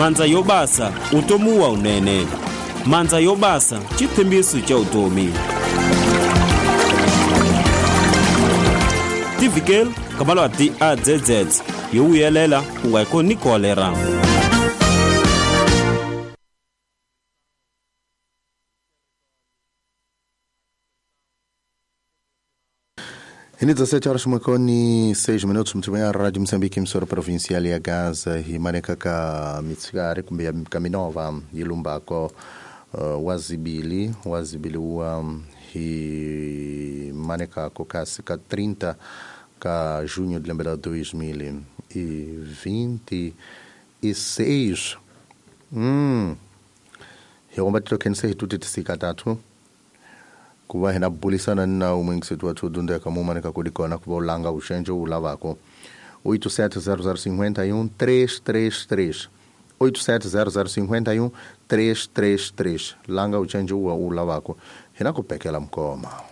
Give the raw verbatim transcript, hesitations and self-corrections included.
Mandza yo basa utomi wa unene. Mandza yo basa xitshembiso xa vutomi. Tivikele ka malwati a Z Z yo vuyelela ku nga ko ni kolera. E dezessete horas e seis minutos, muito bem, a Rádio Moçambique, emissora provincial ya Gaza, e maneka ka mitsigari kumbe kaminova yilumbako uh, wazibili wazibili wa hi maneka ko kasi ka trinta ka junho de lembe la dois mil e vinte e seis. Hum. Hi trokense hi tuti tatu. Kuva hina bulisana na umwingisetu wa tudunda kamuma nikakudikona kuva ulanga ushenjo ulavako oito sete zero zero cinquenta e um três três três oito sete zero zero cinquenta e um três três três langa ushenjo ulavako hina kupekela mkoma.